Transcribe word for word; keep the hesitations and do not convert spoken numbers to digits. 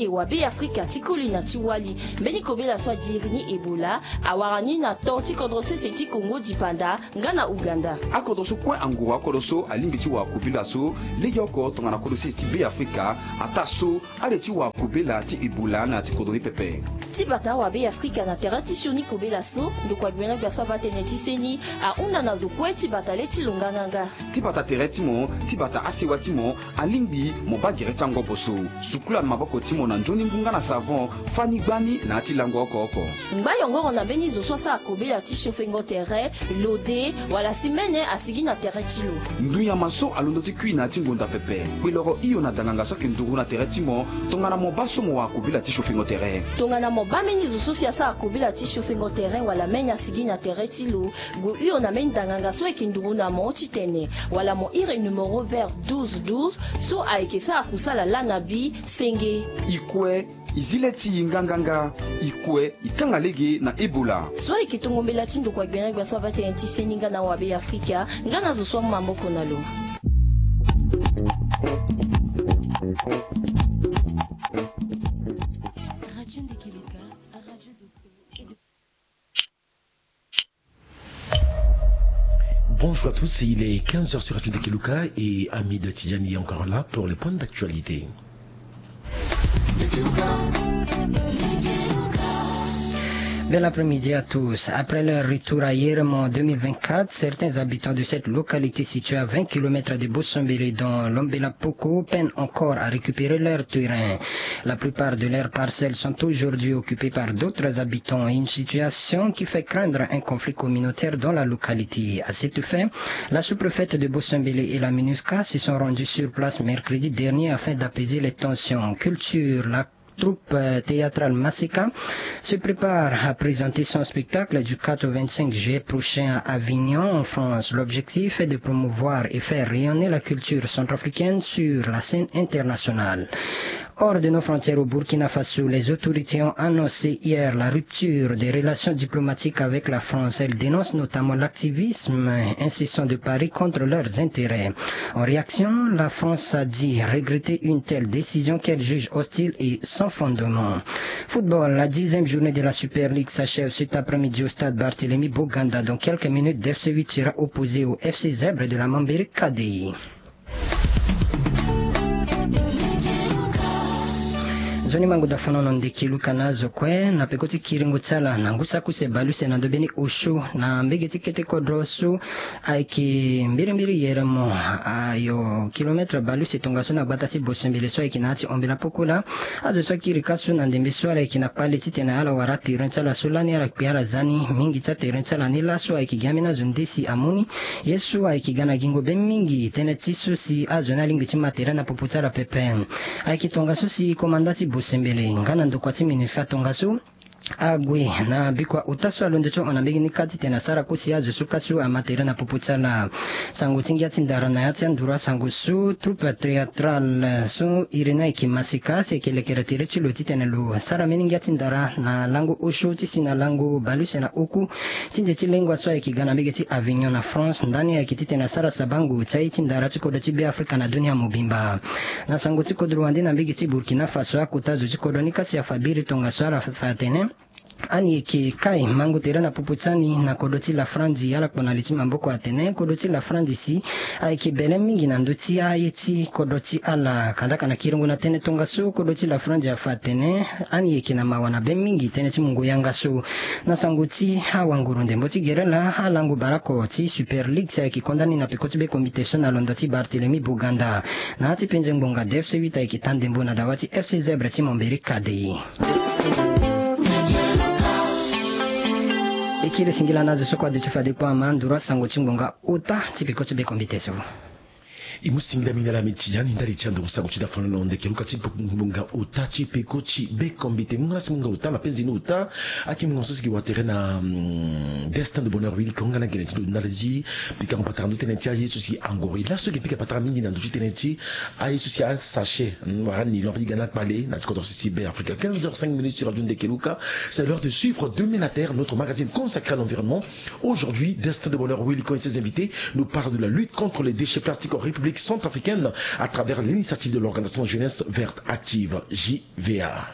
Wabeafrika ti koli na ti wali. Mbeni kobela so adiri ni Ebola awara ni na to ti kodro sese ti Kongo dipanda nga na Uganda. Akodro so kue anguru akodro so alingbi ti wara kobela so legeoko tongana kodro sese ti Beafrika. Ataa so ale ti wara kobela ti Ebola na ya ti kodro ni pepe. Ti bata Wabeafrika na tere ti sioni kobela so, ndokua gbena gbia so abaa tënë ti seni ahunda na zo kue ti bata le ti lo nganganga. Ti bata tere ti mo, ti bata asewa ti mo, alingbi mo baa gere ti angobo so. Sukula na maboko ti mo na nzoni ngu nga na savon, fâ ni gbani na ya ti lango oko oko. Ngba yongoro na mbeni zo so asara kobela ti siofengo tere, lode, wala si mene asigi na tere ti lo. Ndunyama so alondo ti kui na ya ti ngonda pepe. Kpeloro hio na danganga so ayeke nduru na tere ti mo, tongana mo baa so mo wara kobela ti siofengo tere. Tongana mo baa mbeni zo so si asara kobela ti siofengo tere wala mene asigi na tere ti lo, gue hio na mbeni danganga so ayeke nduru na mo titene wala mo iri numéro vert douze douze so ayeke sara kusala laa na bi senge. I kue, i zi le ti i nganganga. I kue, i kanga lege na Ebola. So ayeke tongo mbela ti ndokua gbena gbia so abaa tënë ti seni nga na Wabeafrika, nga na zo so amu maboko na lo. Radio Ndekeluka, radio de paix et de Bonjour à tous, il est quinze heures sur Radio Ndekeluka et Hamid Tidjani est encore là pour les points d'actualité. Bel après-midi à tous. Après leur retour à Yeremo en deux mille vingt-quatre, certains habitants de cette localité située à vingt kilomètres de Bosombele dans Lombela Poko peinent encore à récupérer leur terrain. La plupart de leurs parcelles sont aujourd'hui occupées par d'autres habitants, une situation qui fait craindre un conflit communautaire dans la localité. À cette fin, la sous-préfète de Bosombele et la MINUSCA se sont rendus sur place mercredi dernier afin d'apaiser les tensions. Culture, la troupe, euh, théâtrale Masika se prépare à présenter son spectacle du quatre au vingt-cinq juillet prochain à Avignon, en France. L'objectif est de promouvoir et faire rayonner la culture centrafricaine sur la scène internationale. Hors de nos frontières au Burkina Faso, les autorités ont annoncé hier la rupture des relations diplomatiques avec la France. Elles dénoncent notamment l'activisme incessant de Paris contre leurs intérêts. En réaction, la France a dit regretter une telle décision qu'elle juge hostile et sans fondement. Football, la dixième journée de la Super League s'achève cet après-midi au stade Barthélemy Boganda. Dans quelques minutes, D F C huit sera opposé au F C Zèbre de la Mambéré K D I. Nzoni mangu da fana na ndeke luka na azo kue na peko ti kiringo ti ala na ngu saki use bale use na ndo beni osio na mbege ti kete kodro so ayeke mbirimbiri yeremo ayo kilometre bale use tongaso na gbata ti Bosembele so ayeke na ya ti Ombela Pokola. Azo so akiri ka so na ndembe so ala yeke na kpale titene ala wara terrain ti ala so lani ala kpe ala za ni mingi ti aterrain ti ala ni laso ayeke gi ambeni azo nde si amu ni. Ye so ayeke ga na gingo be mingi tënë ti so si azo ni alingbi ti ma terrain na popo ti ala pepe. Ayeke tongaso si komanda ti Bosembele nga na ndokua ti MINUSCA tongaso ague na bikua ota so alondo ti hon na mbege ni kâ titene asara kue si azo so kâ so ama terrain na popo ti ala. Sango ti ngia ti ndara na ya ti anduru asango so troupe théâtrale so iri ni ayeke Masika si ayeke lekere tere ti lo titene lo sara mbeni ngia ti ndara na lango osio ti si na lango bale use na oku ti nze ti lengua so ayeke ga na mbege ti Avignon na France. Ndani ayeke titene asara sabango ti aye ti ndara ti kodro ti Beafrika na dunia mobimba. Na sango ti kodro wande na mbege ti Burkina Faso, akota zo ti kodro ni kâ si afa biri tongaso ala fa atene ani yeke kai mangu tere na popo ti ani na kodro ti Lafrandi. Ala kpo na li ti maboko atene kodro ti Lafrandi si ayeke bele mingi na ndö ti aye ti kodro ti ala. Kadaka na kiringo na tënë tongaso, kodro ti Lafrandi afa atene ani yeke na mawa na be mingi tënë ti mungo yanga so. Na sango ti awanguru ndembo ti gere laa, alango bale oko ti Super League si ayeke konda ni na peko ti be komite so na londo ti Barthélemy Boganda. Na ya ti penze ngbonga, D F C huit ayeke taa ndembo na dawa ti F C Zèbre ti Momberi K D I. E kiri singila na azo so kue aduti fade kue ama nduru asango ti ngbonga ota ti peko ti be komite so. E mu singila mingi na ala miti ya ni ndali ti anduru sango ti dafano na ndeke luka ti ngbonga ota ti peko ti be komite. Ngbonga na si ngbonga ota na penze ni ota. Ayeke ngbonga so si yeke wara tere na, mm, Destin de Bonheur Willy Konga na gene ti ndo ndali ti pika ngo patara ndo tënë ti aye so si angoro. E laso e yeke pika patara mingi na ndo ti tënë ti aye so si asachet, mm, wala nylon ape ti ga na kpale na ti kodro sese ti Beafrika. Quinze heures cinq minutes sur Radio Ndeke Luka. C'est l'heure de suivre Demain la Terre, notre magazine consacré à l'environnement. Aujourd'hui, Destin de Bonheur Willy Konga et ses invités nous parlent de la lutte contre les déchets plastiques en République Centrafricaine à travers l'initiative de l'organisation Jeunesse Verte Active, J V A.